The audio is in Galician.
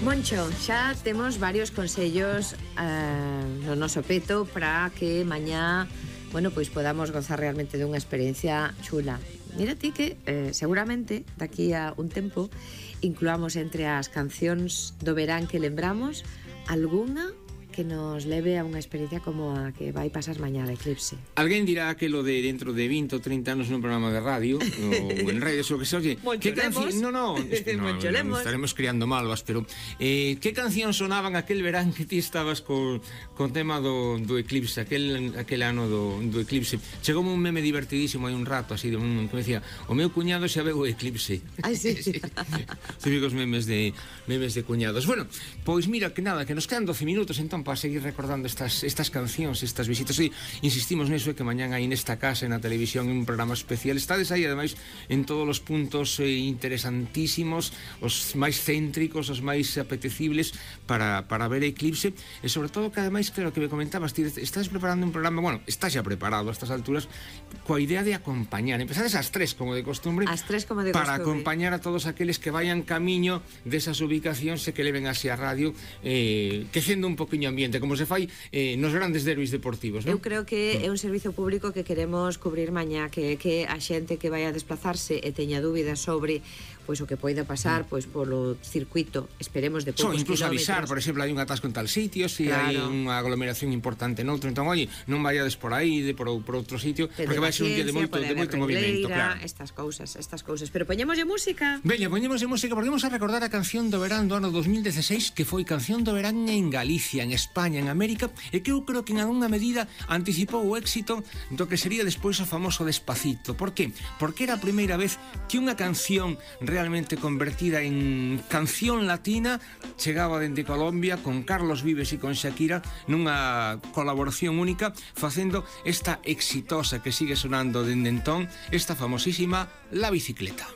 Moncho, xa temos varios consellos no noso peto para que mañá, bueno, pois podamos gozar realmente dunha experiencia chula. Mira ti que seguramente daqui a un tempo incluamos entre as cancións do verán que lembramos algunha que nos leve a unha experiencia como a que vai pasar mañá de Eclipse. Alguén dirá que lo de dentro de 20 ou 30 anos nun programa de radio ou en redes ou que se oye, que canción... No, estaremos criando malvas, pero que canción sonaban aquel verán que ti estabas con tema do Eclipse, aquel ano do Eclipse. Chegoume un meme divertidísimo hai un rato, así, que me decía, o meu cuñado xa veu o Eclipse. Ai, sí. Típicos memes de cuñados. Bueno, pois mira, que nada, que nos quedan 12 minutos, entón, para seguir recordando estas cancións, estas visitas. E insistimos neso, que mañán aí nesta casa, na televisión, un programa especial. Estades aí, ademais, en todos os puntos interesantísimos, os máis céntricos, os máis apetecibles para ver Eclipse. E sobre todo, que ademais, claro, que me comentabas, ti estás preparando un programa, bueno, está xa preparado a estas alturas, coa idea de acompañar. Empezades ás 3, como de costumbre, para acompañar a todos aqueles que vayan camiño desas ubicacións e que leven así a radio, quecendo un poquinho ambiente, como se fai nos grandes derbis deportivos, non? Eu creo que é un servizo público que queremos cubrir mañá, que a xente que vai a desplazarse e teña dúbidas sobre pois o que poida pasar pois polo circuito, esperemos de poucos incluso kilómetros. Avisar, por exemplo, hai un atasco en tal sitio, se hai unha aglomeración importante noutro, entón, oi, non vayades por aí, por outro sitio, porque vai ser un día de moito movimento, claro. Estas cousas. Pero poñémoslle música. Veña, poñémoslle música, porque vamos a recordar a canción do verán do ano 2016, que foi canción do verán en Galicia, en España, en América, e que eu creo que en algunha medida anticipou o éxito do que sería despois o famoso Despacito. Por qué? Porque era a primeira vez que unha canción realmente convertida en canción latina chegaba dende Colombia con Carlos Vives e con Shakira nunha colaboración única, facendo esta exitosa que sigue sonando dende entón, esta famosísima La Bicicleta.